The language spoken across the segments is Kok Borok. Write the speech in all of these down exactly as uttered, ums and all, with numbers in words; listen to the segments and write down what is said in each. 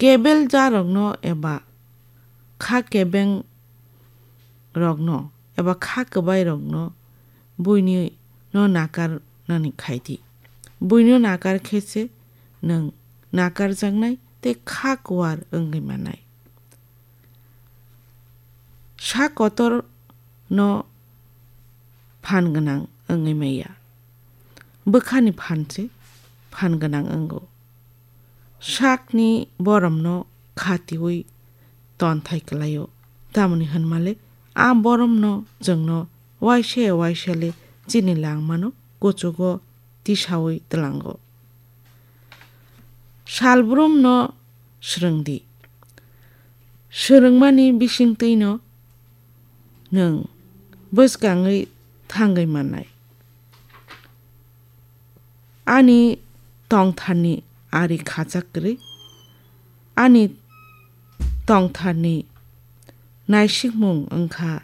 kebel jarokno eba kha kebeng rokno eba kha kwbai rokno buini no nakar nani khaidi. Buino nakar khe se nwng nakarjaknai tei kha kuar wngwi manai. Sa kotor no phan gwnang wngwi maya. Bwkhani phan se phan gwnang wngo. Sakni boromno khatiui tonthai kwlaio. Tamoni hwnmale a boromno chwngno waisa waisa le chini langmano kuchugo tisaui tlango. Salbrumno swrwngdi. Swrwngmani bisingtwino nwng bwskangwi thangwi mannai. Ani tongtharni ari khachak kwrwi, ani tongtharni naisikmung wngkha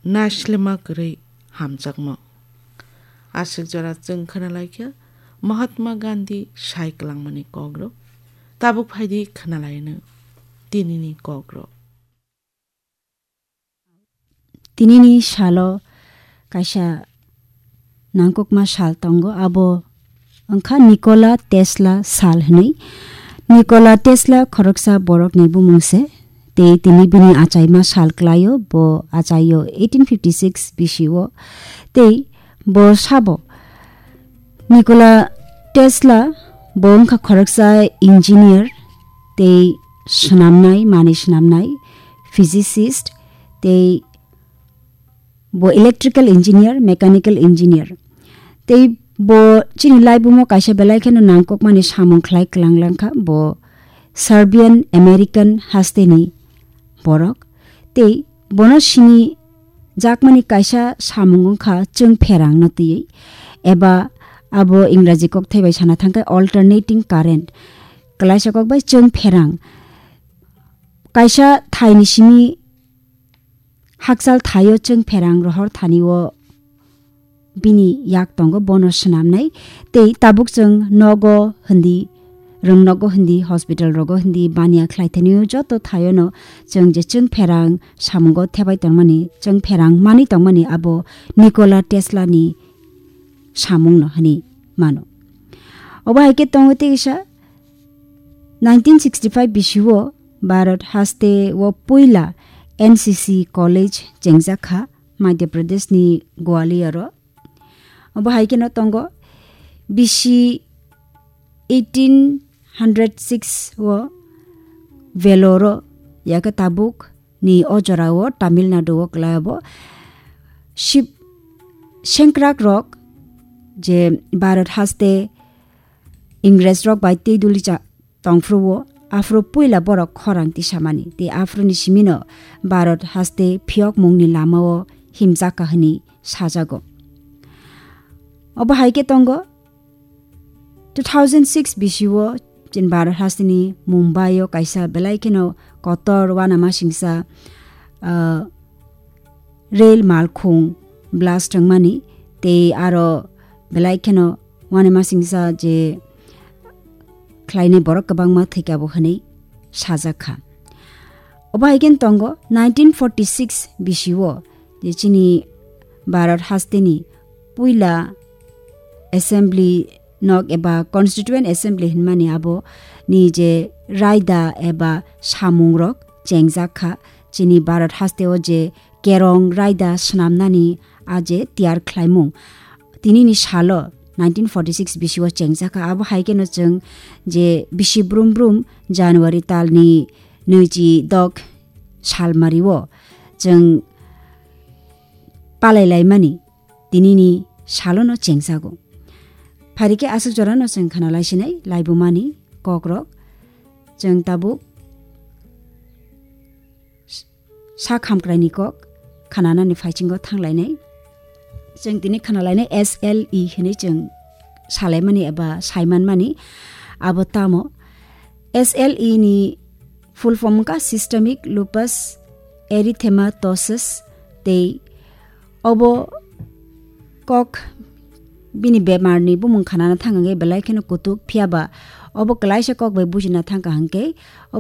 naislema kwrwi hamjakmung. Aswk jora chwng khwnalaikha Mahatma Gandhi sai kwlangmani kokrok. Tabuk phaidi khwnalaino tinini kokrok. Tinini salo kaisa nangkukma sal tongo, abo wngkha Nikola Tesla sal hwnwi. Nikola Tesla khoroksa borokni bumung se, tei tini bini achaima sal kwlaio, bo achaio eighteen fifty six B C o, tei bo sabo Nikola Tesla bo wngkha khoroksa engineer tei swnamnai, manwi swnamnai, physicist tei bo electrical engineer, mechanical engineer. Tei bo chini laibumo kaisa belai kheno nangkukmani samung khlai kwlang langkha. Bo Serbian American hasteni borok. Tei bono sini jakmani kaisa samung wngkha chwng pherang no twiwi, eba abo Ingraji kokthai bai sana thangkhe alternating current. Klaisa kok bai chwng pherang. Kaisa thaini simi hakchal thaio chwng pherang rohor thani o bini yak tongo, bono swnamnai. Tei tabuk chwng nogo hindi, rwng nogo hindi, hospital rogo hindi, baniya khlai thani o joto thaio no chwng je chwng pherang samungo thebai tongmani, chwng pherang manwi tongmani abo Nikola Tesla ni samung no hwnwi mano. Obo hai khe tongo tei kisa nineteen sixty five bisi o Bharat haste o puila N C C college chengjak kha Madhya Pradesh ni Gwalior o. Obo hai kheno tongo bisi eighteen hundred six o Vellore o, yakhe tabuk ni o jora o Tamil Nadu o kwlai abo Shib sengkrak rok je Bharat haste Ingres rok bai tei duli cha tongphuru o, aphuru puila borok khorang tisamani tei aphuru ni simi no Bharat haste phiyok mung ni lama o himjak kha hwnwi sajago. Obo hai khe tongo two thousand six bisi o chini Bharat haste ni Mumbai o kaisa belai kheno kotor uanamasingcha, ah, rail malkhung blast wngmani tei aro belai kheno uanamasingcha je khlainai borok kwbangma thwikha bo hwnwi sajak kha. Obo hai khe tongo nineteen forty six bisi o je chini Bharat haste ni puila assembly nok eba constituent assembly hinmani abo ni je raida eba samung rok chengjak kha chini Bharat haste o je kerong raida swnamnani a je tiyar khlaimung. Tini ni salo nineteen forty six bisi o chengjak kha. Abo hai kheno chwng je bisi brum brum January tal ni nwichi dok salmari o chwng palai laimani tini ni salo no chengjago. Phari khe aswk jora no chwng khana lai sinai laibumani kok rok. Chwng tabuk sak hamkraini kok khananani phaichingo thanglainai. Chwng tini khanalainai S L E hinwi chwng salaimani eba saimanmani abo tamo. S L E ni full form wngkha systemic lupus erythematosus tei obo kok bini bemarni bumung khanana thang hwnkhe belai kheno kutuk, phiyaba obo klaisa kok bai bujina thang kha hwnkhe obo